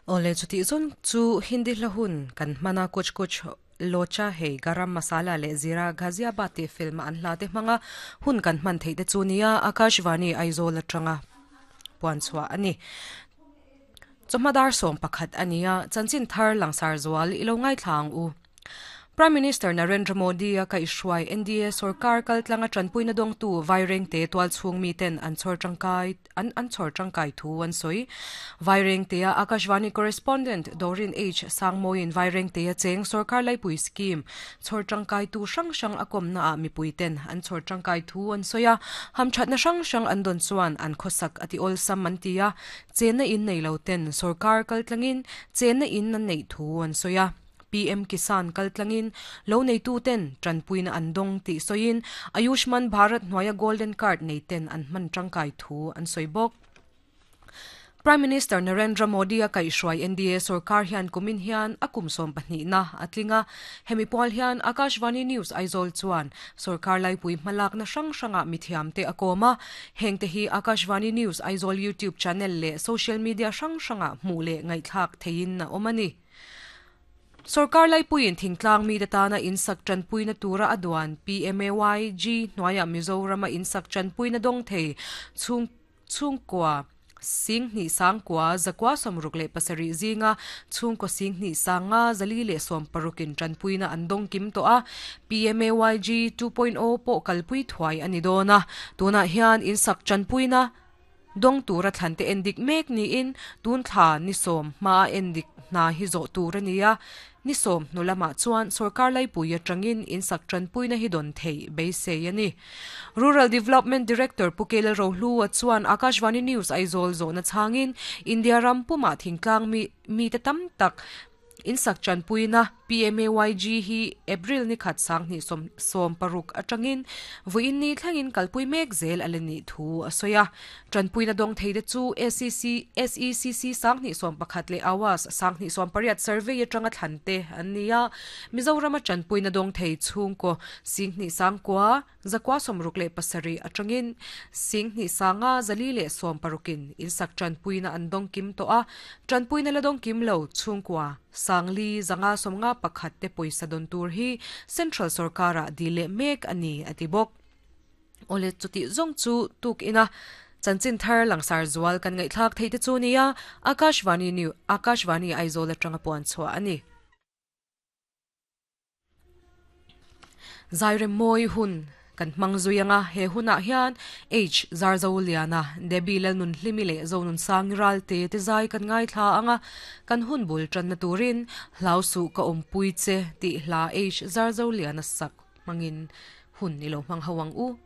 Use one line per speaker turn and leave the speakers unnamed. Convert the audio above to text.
Awle chutih zawn chu Hindi hla hun kan hman a, Kuch Kuch Locha Hei Garam Masala leh Zira Ghaziabad tih film a an hla te hmang a, hun kan hman theih te chu nia Akashvani Aizawl atanga puan chhuah a ni. Chawhma dar 11 a ni a, chanchin thar langsar zual i lo ngaithla ang u. Prime Minister Narendra Modi a kaihhruai NDA sorkar kaltlanga tanpuina dawngtu Vairengte tualchhung miten an chhawr tangkai an an chhawr tangkai thu an sawi. Vairengtea Akashvani correspondent Dorin H Sangmawiin Vairengtea cheng sorkar laipui scheme chhawr tangkaitu hrang hrang a kawmnaah mipuiten an chhawr tangkai thu an sawi a, hamthatna hrang hrang an dawn chuan an khawsak a ti awlsam an ti a, chenna in nei lo ten sorkar kaltlangin chenna in an neih thu an sawi a. PM Kisan kaltlangin lo neituten tanpuina an dawng tih sawiin Ayushman Bharat hnuaia Golden Card neiten an hman tangkai thu an sawi bawk. Prime Minister Narendra Modi a kaihhruai NDA sorkar hian kumin hian a kum 12na a tling a. Hemi pual hian Akashvani News Aizawl chuan sorkar laipui hmalakna hrang hrangah mithiamte a kawm a. Hengte hi Akashvani News Aizawl YouTube channel leh social media hrang hrangah hmuh leh ngaihthlak theihin a awm a ni. Sorkar laipuiin thingtlang mite tana insak tanpuina tura a duan PMAYG hnuaiah Mizorama insak tanpuina dawng thei chhung chhungkua sing hnih sangkua zakua 67 zinga chhungkaw sing hnih sanga 416 in tanpuina an dawng kim tawh a. PMAYG 2.0 pawh kalpui thuai a ni dawn a. Tunah hian insak tanpuina dawng tura thlan te endik mek niin tun thla ni sawm hma endik hna hi zawh tur a ni a. Ni sawm hnu lamah chuan sorkar laipui atangin insak tanpuina hi dawn thei beisei a ni. Rural Development Director Pu Kel Rohlu a chuan Akashvani News Aizawl zawhna changin India ram pumah thingtlang mi mi te tam tak insak tanpuina PMAYG hi April ni khat sang hnih sawm sawm paruk atangin vuiin ni thlengin kalpui mek zel a la nih thu a sawi a. Tanpuina dawng thei te chu SEC SECC sang hnih 11 leh Awas sang hnih 18 survey atanga thlan te an ni a. Mizorama tanpuina dawng thei chhungkaw sing hnih sangkua zakua 67 atangin sing hnih sanga 416 in insak tanpuina an dawng kim tawh a. Tanpuina la dawng kim lo chhungkua sangli zanga sawmnga pakhat te pawisa dawn tur hi Central Sarkara dile mek ani ati bawk. Ole chuti zawng chu tuk ina chanchin thar langsar zual kan ngaihthlak thei te chu nia Akashvani New Akashvani Aizawl atanga puan chhuah ani. Zairem mawi hun kan hmang zui anga he hunah hian H Zarzo Liana Debbie Lalnun Hlimi leh Zonun Sangi ral te te zai kan ngai thla anga kan hun bul tan na turin hlau su ka awm pui che tih hla H Zarzo Liana sak hmangin hun ilo hmang ho ang u.